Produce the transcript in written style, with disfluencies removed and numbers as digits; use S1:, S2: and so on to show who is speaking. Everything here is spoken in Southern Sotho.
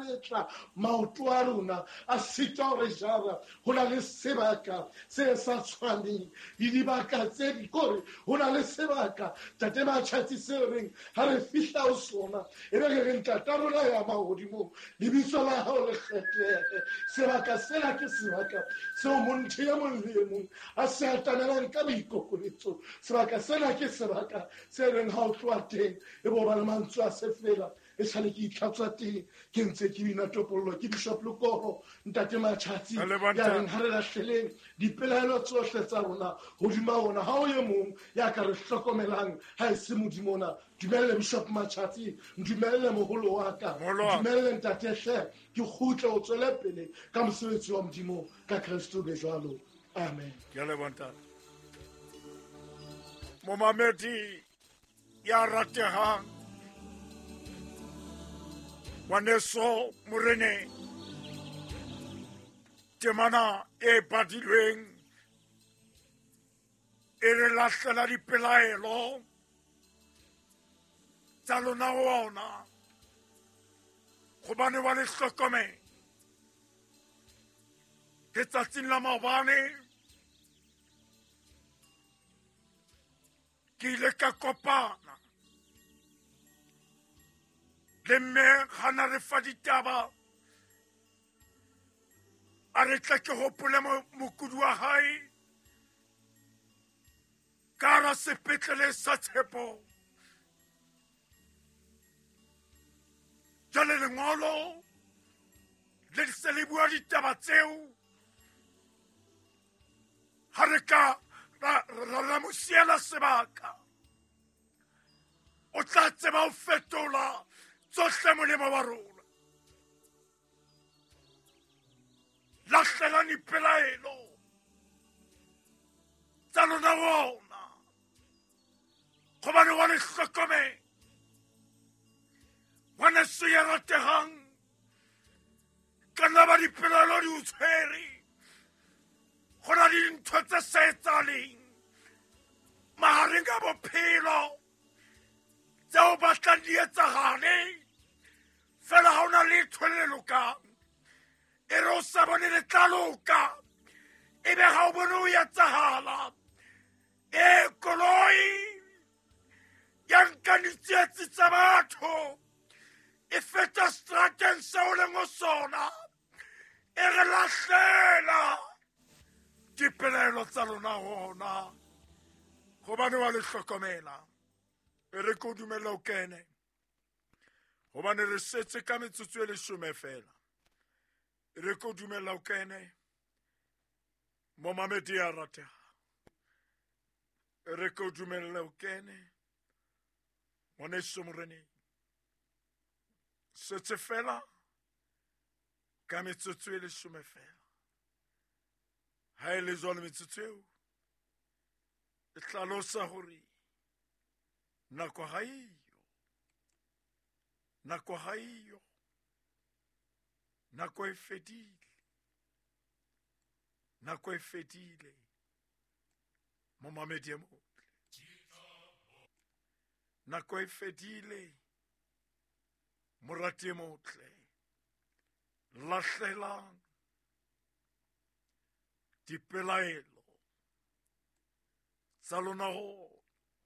S1: kgabetla maoto a rona a sitwa ho re jara. Ho na le sebaka se sa tshwaneng le dibaka tse di kore ho na le sebaka tate Matšhatsi seo reng ha re fihla ho sona e be re re ntata rona ya mahodimong lebitso la hao le kgethehe. Sebaka sena ke sebaka seo montho e mong le e mong a se atamelang ka boikokobetso. Sebaka sena ke sebaka se reng ha o tloha teng e bo ba le mantswe a se fela e sale ke itlhatswa teng ke ntse ke bina topollo. Ke Bishop Lekoro ntate Matšhatsi ya reng ha re lahleleng dipelaelo tsohle tsa rona hodima ona. Ha o ye mong ya ka re hlokomelang ha e se Modimo ona. Dumelle Bishop Matšhatsi, ntumelle moholo wa ka, ntumelle ntate hle ke kgutle o tswele pele ka mosebetsi wa Modimo ka Kreste o be jwalo. Amen.
S2: Ke a leboha ntate. Momamedi ya ratehang ngwaneso moreneng, temana e badilweng e re lahlela dipelaelo tsa lona ho ona gobane wa le hlokomela. Letsatsing la maobane ke ile ka kopana le mme gana re fa ditaba a re tle ke gopole mokudi wa gae ka ra sepetlele sa Tshepo. Jale lengolo le se le bua ditaba tseo ha re ka ra mo siela sebaka o tla tseba ho fetola tsohle molemo wa rona. Lahlelang dipelaelo tsa lona ona gobane wa le hlokomela. Ngwaneso ya rategang, ka nna ba dipelaelo di o tshwere, go na le dintho tse sa etsahaleng mahareng a bophelo tseo batlang di etsagale fela ga o na letho le lokang. E re o sa bone le tla loka e be ga o bone o etsagala. E koloi ya nka ditsietsi tsa batho e feta strateng seo leng ho sona e re lahlela dipelaelo tsa lona gona gobane wa le hlokomela. E re ke o dumella o kene gobane re setse ka metsotso e leshome fela. E re ke o dumella o kene momamedi ya ratega. E re ke o dumella o kene ngwaneso moreneng. Setse fela ka metsotso e leshome fela. Ha e le jwalo metsotso eo e hlalosa hore nako ha eyo, nako ha eyo, nako e fedile, nako e fedile. Momamedi e motle, nako e fedile. Morati e motle, lahlelang dipelaelo tsa lona ho